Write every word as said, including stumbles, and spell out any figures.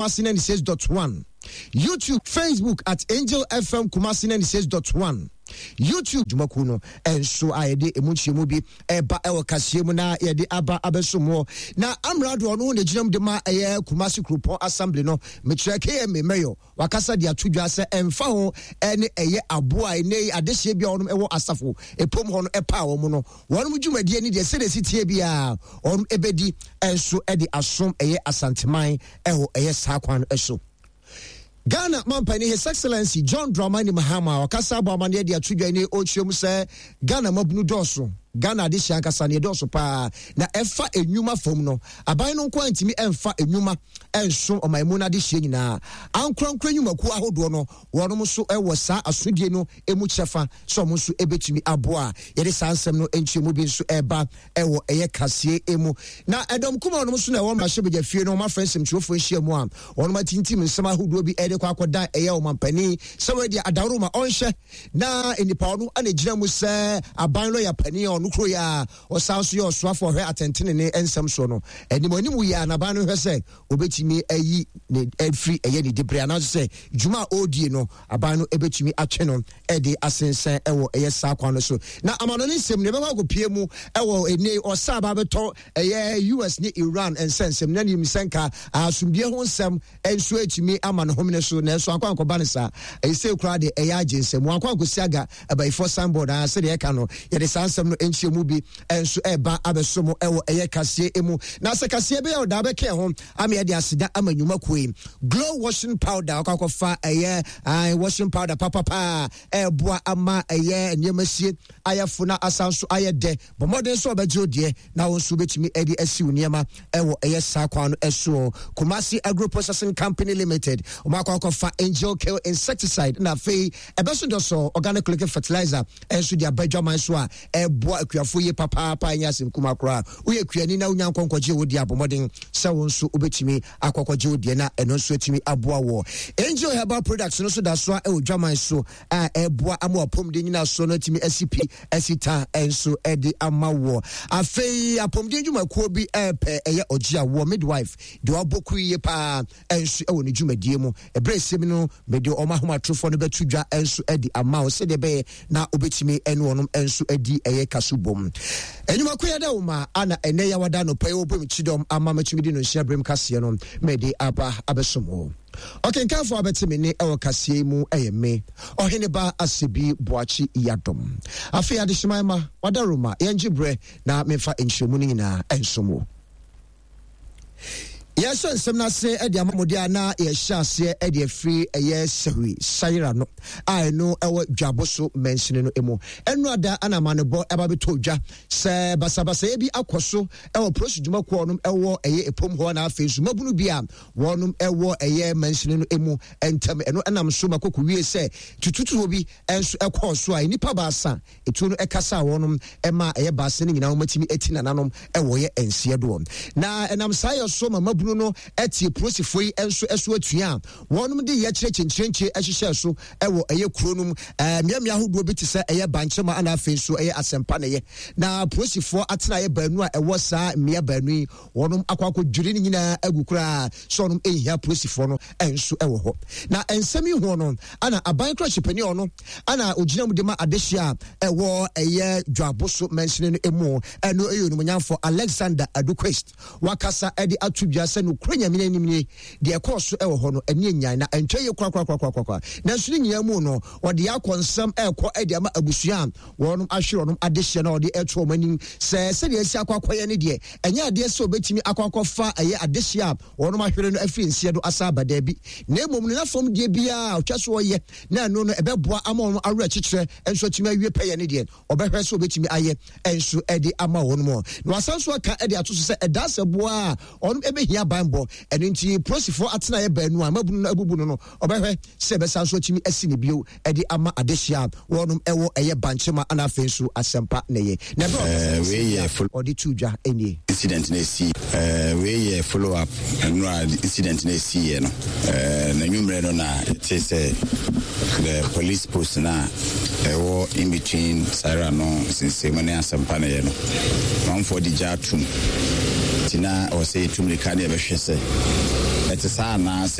Kumasi ninety-six point one, YouTube, Facebook at Angel F M Kumasi ninety-six point one, YouTube dwumakuo no nso a yɛde emu nkyerɛmu bi ɛba ɛwɔ kaseɛ mu na yɛde aba abɛso mu. Na amrado ɔno na gyina mu de ma ɛyɛ Kumasi Kuropɔn Assembly no, mekyerɛ K M A mayor, wakasa de ato dwa sɛ ɛmfa ho ɛne ɛyɛ aboa a ɛnɛ adehyeɛ bi a wɔnom ɛwɔ asafo epom hɔ no ɛpa wɔn no, wɔnom dwumadie ne deɛ sɛdeɛ si tie biara wɔnom ɛbɛdi ɛnso ɛde asom ɛyɛ Asanteman ɛwɔ ɛyɛ saa kwan no ɛso. Ghana mampani, His Excellency John Dramani Mahama, ɔkasa abɔ amanneɛ de ato dwa ne ɔkyerɛ mu sɛ Ghana mabunu dɔɔso, Ghana adehyia ankasa ne ɛdɔɔso paa, na ɛfa enwuma fam no, aban no nko antumi ɛmfa enwuma ɛnso ɔman mu no adehyia nyinaa. Ankorankora nnwumakuo ahodoɔ no, wɔnom nso ɛwɔ saa asodie no emu kyɛfa sɛ ɔmo nso ɛbɛtumi aboa. Yɛde saa nsɛm no nkyerɛmu bi nso ɛba ɛwɔ ɛyɛ kaseɛ emu. Na ɛdɔm kuma ɔnom nso na ɛwɔ mmarahyɛbadwa fie no, ɔmo afrɛ nsɛmtwerɛfoɔ nhyia mu a wɔnom atintim nsɛm ahodoɔ bi ɛde kɔ akɔda ɛyɛ ɔmampanin sɛ wɔadi adaworoma ɔnhyɛ na nipa ɔno ana gyina mu sɛ aban lɔya panin a ɔno kuro yi a ɔsan so yɛ ɔsoafo ɔhwɛ atɛntene ne nsɛm soɔ no anim anim yi a n'aban no hwɛ sɛ obetumi ayi ne afiri ɛyɛ ne dibere anaasɛ sɛ dwuma a ɔredie no, aban no ebetumi atwe no ɛde asensɛn ɛwɔ ɛyɛ saa kwan no so. Na amano ne nsɛm no ɛbɛkɔ akɔpie mu ɛwɔ ene ɔsa aba abɛtɔ ɛyɛ U S ne Iran nsɛnsɛm na nim sɛ nka asomdue ho nsɛm nso atumi ama ne homene so, nanso akɔ ankɔba no saa. Ɛyɛ sɛ koraa de ɛyɛ agye nsɛm wankɔ ankɔsi aga abayifoɔ signboard a sɛdeɛ ɛka no. Yɛde saa nsɛm no nkyerɛ mu bi nso ɛba abɛso mu ɛwɔ ɛyɛ kaseɛ mu. Na sɛ kaseɛ bɛyɛ ɔdaa bɛkɛ ho ama yɛde aseda ama nnwumakuo yi: Glow washing powder, ɔkɔ akɔfa ɛyɛ washing powder papapa ɛɛboa ama ɛyɛ nneɛma sie ayɛfo na asan so ayɛ dɛ. Bɔ mmɔden nso ɔbɛgye wo deɛ na wo nso wobɛtumi de asi wo nneɛma ɛwɔ ɛyɛ saa kwan no ɛsoɔ. Kumasi Agro Processing Company Limited, ɔmo akɔ akɔfa Angel Kill insecticide na afei ɛbɛso dɔsɔ organic liquid fertilizer ɛnso de aba adwaman so a ɛboa akuafoɔ yie papaapa. Ɛnyɛ asɛm kuma koraa. Woyɛ kuani na wonya nkɔnkɔgye wo deɛ, abɔmmɔden sɛ wo nso wobɛtumi akɔkɔgye wo deɛ na ɛno nso atumi aboa wɔ. Angel Herbal Products no nso da so a ɛwɔ dwaman so a ɛboa ama apɔmuden nyina so no atumi asi pi asi ta nso ɛde ama wɔ. Afei apɔmuden dwumakuo bi ɛɛpɛ ɛyɛ ɔgye a wɔ midwife deɛ wabɔ kuru yie paa nso ɛwɔ ne dwumadie mu. Ɛberɛ ɛsɛm no, mede ɔmo ahomatorofoɔ no bɛto dwa nso ɛde ama wo sɛdeɛ ɛbɛyɛ na wobɛtumi ɛne wɔnom nso adi ɛyɛ kaso bom. Ɛnwumako yɛ dɛ wo ma ana ɛnɛ yɛwada nɔpa yi wɔbɔ mu kyidɔm ama matumi de no nhyia berɛm kaseɛ no mede aba abɛsom wo. Ɔkenkanfoɔ abɛte me ne ɛwɔ kaseɛ yi mu ɛyɛ me ɔhene ba Asebi Boakye Yadom. Afei adehyeman ma wada Roma, yɛngye berɛ na memfa nkyerɛmu no nyinaa ɛnsom wo. Yɛhyɛ nsɛm no ase de ama mode a na yɛhyɛ aseɛ de afiri ɛyɛ Sɛhwi Sayera no a ɛno ɛwɔ Dwabo so mansini no mu. Ɛno ada ana amanebɔ ɛba bɛtɔ dwa sɛ basabasayɛ bi akɔ so ɛwɔ polisi dwumakuo nom ɛwɔ ɛyɛ epom hɔ, na afei nso mabunu bi a wɔnom ɛwɔ ɛyɛ mansini no mu ntam. Ɛno ɛnam so ma koko wie sɛ tututuo bi ɛnso ɛkɔɔ so a nnipa baasa etuo no ɛkasa a wɔnom ɛma ɛyɛ baasa no nyinaa wɔmatumi ati nananom ɛwɔ yɛ nseɛ doɔ. Na ɛnam saa yɛ so ma mabunu no ɛtie polisifoɔ yi nso ɛso atua a wɔnom de yɛ kyerɛ kyenkyerenkye ɛhyehyɛ so ɛwɔ ɛyɛ kuro no mu ɛɛ mmeammea ahodoɔ bi te sɛ ɛyɛ Bankyema, ana afei nso ɛyɛ Asɛmpa ne yɛ. Na polisifoɔ atenaeɛ baanu a ɛwɔ saa mmea baanu yi, wɔnom akɔ akɔdwiri no nyinaa agu koraa sɛ ɔnom ɛnhia polisifoɔ no ɛnso ɛwɔ hɔ. Na nsɛm yi ho no ana aban kora ɔno ana ogyina mu de ma adehyia a ɛwɔ ɛyɛ Dwabo so mansini no mu, ɛno ɛyɛ onimonyamfo Alexander Aduquest, wakasa ɛde ato dwa sɛ nokura Nyame anim nie, deɛ ɛkɔɔ so ɛwɔ hɔ no ɛne anyan na ɛntwa yie korakorakorakorakora. Nanso ne nyinaa mu no, ɔde akɔ nsɛm ɛrekɔ ɛde ama abusua a wɔnom ahwere ɔnom adehyɛ na ɔde ɛto wɔn anim sɛ sɛdeɛ asi akɔ akɔyɛ ne deɛ, ɛnyɛ adeɛ sɛ obɛtumi akɔ akɔfa ɛyɛ adehyɛ a wɔnom ahwere no afiri nseɛ do asa aba, daabi, na mmom no n'afɔm deɛ biara ɔtwa so ɔyɛ na ɛno no ɛbɛboa ama wɔn awerɛ kyekyerɛ nso atumi awie pɛyɛ ne deɛ ɔbɛhwɛ sɛ obɛtumi ayɛ nso ɛde ama wɔn mu. Na wasan so aka ɛde ato so sɛ ɛda sɛ boa a ɔnom ɛbɛhia banbɔ, ɛno nti polisifoɔ atenaeɛ baanu a mabunu no abubu no no ɔbɛhwɛ sɛ ɛbɛsan so atumi asi ne bio ɛde ama adehyia a wɔnom ɛwɔ ɛyɛ Bankyema ana afei nso Asɛmpa ne yɛ na ɛbɛ wei yɛ ɔde to dwa nie. Incident na esi wei yɛ follow up nnura incident na esi yɛ no na nwummerɛ no na ɛte sɛ the police post na ɛwɔ in between Saira no nsensɛmu ne Asɛmpa no yɛ no, manfoɔ de gya atum, nti na ɔwɔ sɛ yɛtu mmirika ne yɛbɛhwɛ sɛ Ɛte saa anaa?